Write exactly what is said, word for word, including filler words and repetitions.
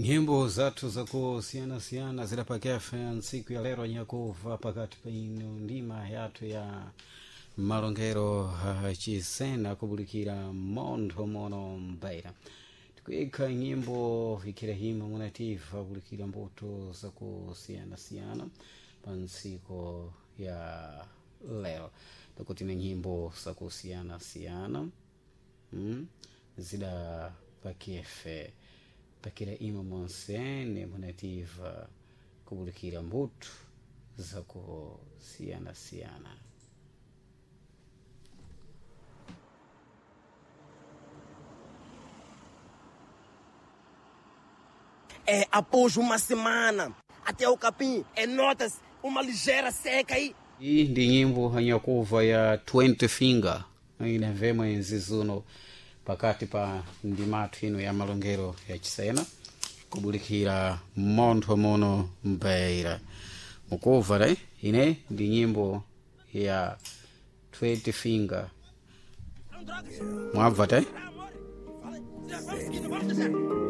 Nyimbo zathu zakusiyana-siyana zidapakefe ntsiku ya lero nyakuva pakati pa ino ndima yathu ya malongero uh, chisena kubulikira montho mono mbaira tikuyikha nyimbo ikhira hima munativa kubulikira mbuto zakusiyana-siyana pa ntsiku ya lero takuti ni nyimbo zakusiyana-siyana mm? zidapakefe pakira ima monsene munativa kubulikira mbuto zakusiyana-siyana. É, após uma semana, até o capim, é, nota-se uma ligeira seca aí. Iyi ndi nyimbo yanyakuva ya twenty finger inavemwe nzizuno pakati pa ndimathu ino ya malongero ya chisena kubulikira montho muno mbaira mukuva re ine ndi nyimbo ya twenty finger mwabva te. Vamos seguindo, vamos deixar.